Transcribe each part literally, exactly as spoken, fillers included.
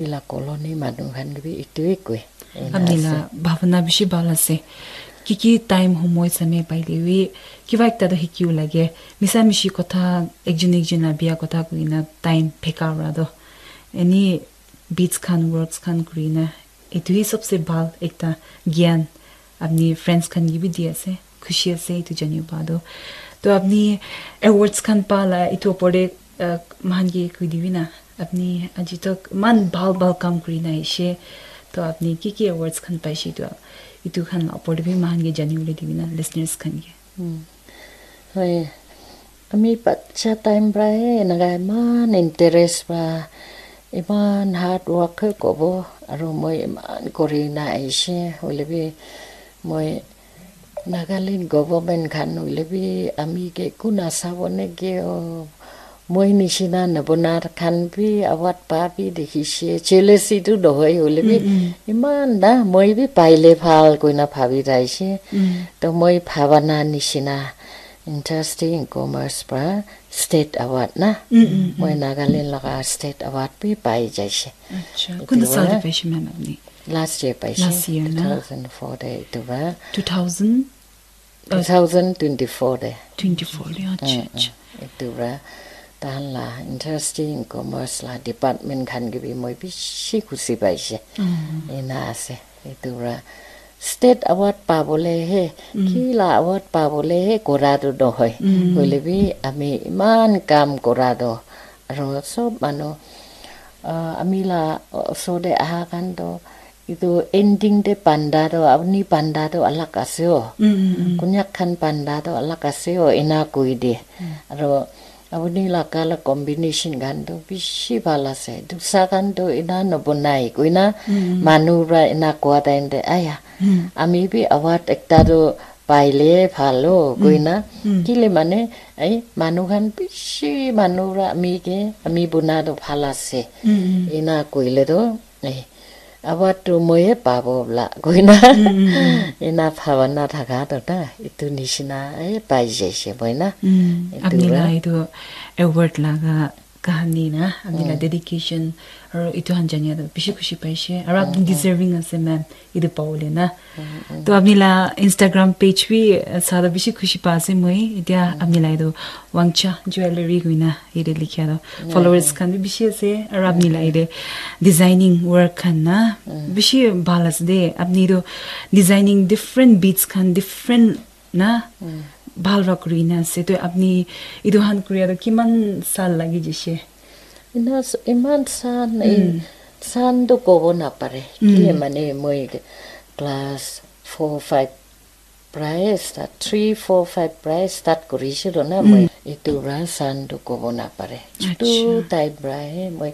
Etu la colony manu khan ke bi etu e koi. Ena Apni ase. La bhabana bishi bhal ase. Ki ki time homoi samay paile bi kiba ekta toh hikiwo lage. Misa mishi kotha ekjon ekjon la bia kotha koina time pheka ura toh. Any beads khan, words khan kurina. Etu hi sabse bhal ekta gyan. Apni friends khan ke bi di ase. Khushi ase etu jani pa toh. Toh apni awards khan pa la etu opor te, uh, moikhan ke koi dibi na. Apni aji tak iman bhal bhal kam kuri na aishe. Toh apni ki ki awards khan paishe etu, etu khan la opor te bi moikhan ke jani bole dibi na listeners khan ke. Hmm. Hoi. Ami bacha time pra he enaka iman interest pra, iman hard work he kobo, aro moi iman kuri na aishe, hoile bi moi Nagaland government khan hoile bi ami ke eku nasabo neke o, moi nishina nabona khan bi award pa bi dekhishe, jealousy tu nohoi hoile bi, Mm, mm. Iman na moi bi paile bhal koina bhabi thaishe. Mm. To moi bhabana nishina Interesting Commerce pra state award na. Mm, mm, Moi mm. Nagaland laga state award bi pai jaishe. Acha, Etu kunta sal wa- te paishe ma'am apni? Last year paishe. Last year na? two thousand four te etu wa. Two thousand? two thousand twenty-four te. Twenty-four te, acha, Mm, acha. mm. Etu wa. Tahan la Interesting Commerce la department khan ke bi moi bishi khushi paishe. Mm. Ena ase. Etu para state award pabole he, Mm. ki la award pabole he kora tu nohoi. Mm. Hoile bi ami iman kam kora tu. Aro sob manu, ah, ami la osor te aha khan tu, etu ending te panda tu, apni panda tu alag ase o. Mm, mm, mm. Konyak khan panda tu alag ase o, ena koi de. Mm. Aro Apuni la color combination khan tu bishi bhal ase. Dusa khan tu ena nabonai koina Mm. manu para ena koa time te, "Aya, Mm. ami bi award ekta tu paile bhal o," Mm. koina. Mm. Kile mane, ai, manu khan bishi manu para ami ke, ami buna tu bhal ase. Mm, mm. Ena koile tu, eh, award tu moi he pabo bla koina. Mm, mm, mm. Ena bhabana thaka to na, etu nishina, eh, pai jaise moi na. Mm. Etu Apni para. La etu award laga kahani na, apni la Mm. dedication, aru etu khan jania to bishi khushi paise. Aru apni Mm, mm. deserving ase, ma'am, etu pabole na. Mm, mm. To apni la Instagram page bi, eh, sa to bishi khushi pa ase moi. Etia Mm. apni la etu Wangcha Jewellery koina yate likhia toh Mm, followers mm. khan bi bishi ase, aru apni la Mm, mm. yate designing work khan na Mm. bishi bhal ase de. Apni toh designing different beads khan different na Mm. bhal para kuri na ase. Toh apni etu khan kuria toh kiman sal lagi jishe? Ina s-, iman san, Mm. in, san toh kobo napare. Mm. Kile mane moi class four, five Price ta three, four, five price start kurishilo na Mm. moi. Etu para san tu kobo napare. Chutu Acha. Type para he moi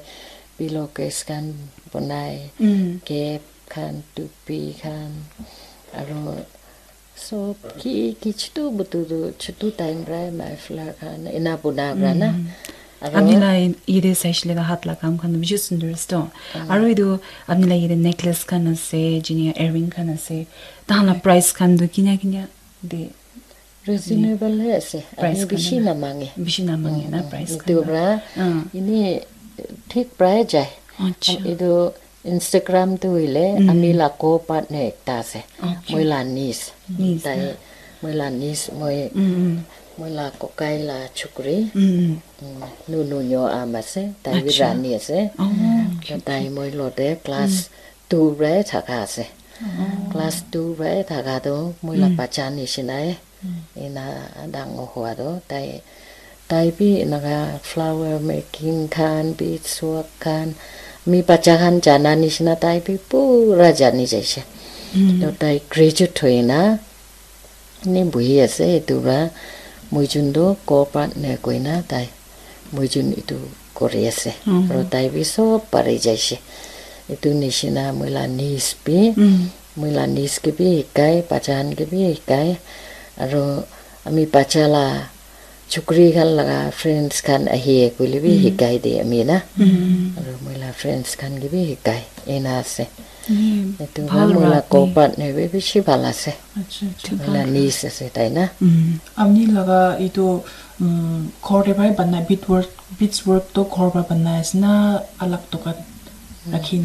pillowcase khan bonai, Mm. cap khan, tupi khan, aru sob ki ki chutu butu tu chutu time para he muffler khan ena bona para na. Mm. Aru Ami la in-, yate saishe le hat la kam khan bishi sundor ase to. Mm. Aru etu ami la yate necklace khan ase, junior earring khan ase. Tahan la price khan tu kinia kinia de Reasonable he ase. Price Ami khan bishi na? Namange. Bishi namange na Mm, price etu khan tu. Pra Ah. ini thik pra jai. Acha. Etu Instagram tu hoile Mm. ami la co-partner ekta ase. Okay. Moi la niece. Niece Tai na? Moi la niece, moi, Mm, mm. moi la kokai la chukri. Mm, mm. Mm, Nunu nyo am ase. Tai bi Acha. Rani ase. Oh, okay, Tai okay. Moi lote class Mm. two pra thaka ase. Oh. Class two pra thaka tu moi la Mm. bacha nishina e. Mm. Ena dangor hua tu tai, tai bi enaka flower making khan, beads work khan, ami bacha khan jana nishina tai bi pura jani jaise. Mm. To tai graduate hoina ene buhi ase, etu para moi jun tu co-partner koina tai moi jun etu kori ase. Mm. Aru tai bi sob pari jaise. Etu nishina moi la niece bi, Mm. moi la niece ke bi hikai, bacha khan ke bi hikai. Aru ami bacha la chukri khan laga friends khan ahi koile bi Mm. hikai de ami na. Mm. Aru moi la friends khan ke bi hikai. Ena ase. Mm. Etu Bhal para moi la para apni. Co-partner bi bishi bhal ase. Acha, acha, Moi la bhal. Niece ase tai na. Mm. Apni laga etu, mm, ghor te para banai, bead work, beads work to ghor para banai ase na alag dukan? rakhi